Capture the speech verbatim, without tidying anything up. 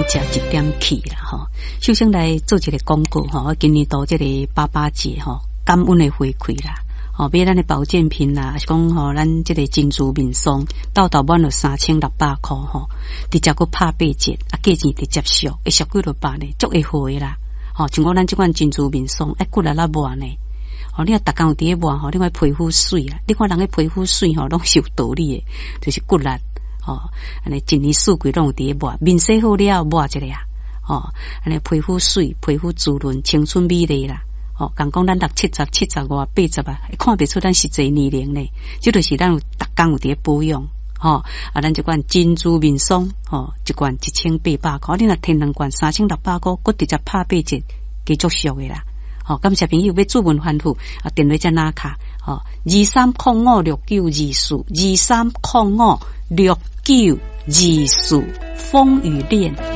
食一點氣啦吼。首先來做一個廣告吼，我今年度這個爸爸節吼，感恩的回饋啦。吼，買咱的保健品啦，抑是講吼，咱這個珍珠面霜，兜兜滿了三千六百箍吼，直接閣拍八折，啊，價錢直接俗，會俗幾落百呢，足會好的啦。吼，像講咱這款珍珠面霜，愛骨力仔抹呢。吼，你若逐工有佇咧抹吼，你看皮膚媠啦，你看人的皮膚媠吼，攏是有道理的，就是骨力吼，按呢一年四季攏有佇咧抹，面洗好了抹一下，吼，按呢皮膚媠，皮膚滋潤，青春美麗啦。吼，共講咱六七十、七十外、八十啊，看袂出咱實際年齡呢。這就是咱有逐工有佇咧保養，吼。啊，咱這款珍珠面霜，吼，一罐一千八百箍，你若提兩罐三千六百箍，閣直接拍八折，加足俗的啦。吼，感謝朋友欲主文反覆啊，電話遮拿卡，吼，二三空五六九二四，二三空五六九二四，風雨戀。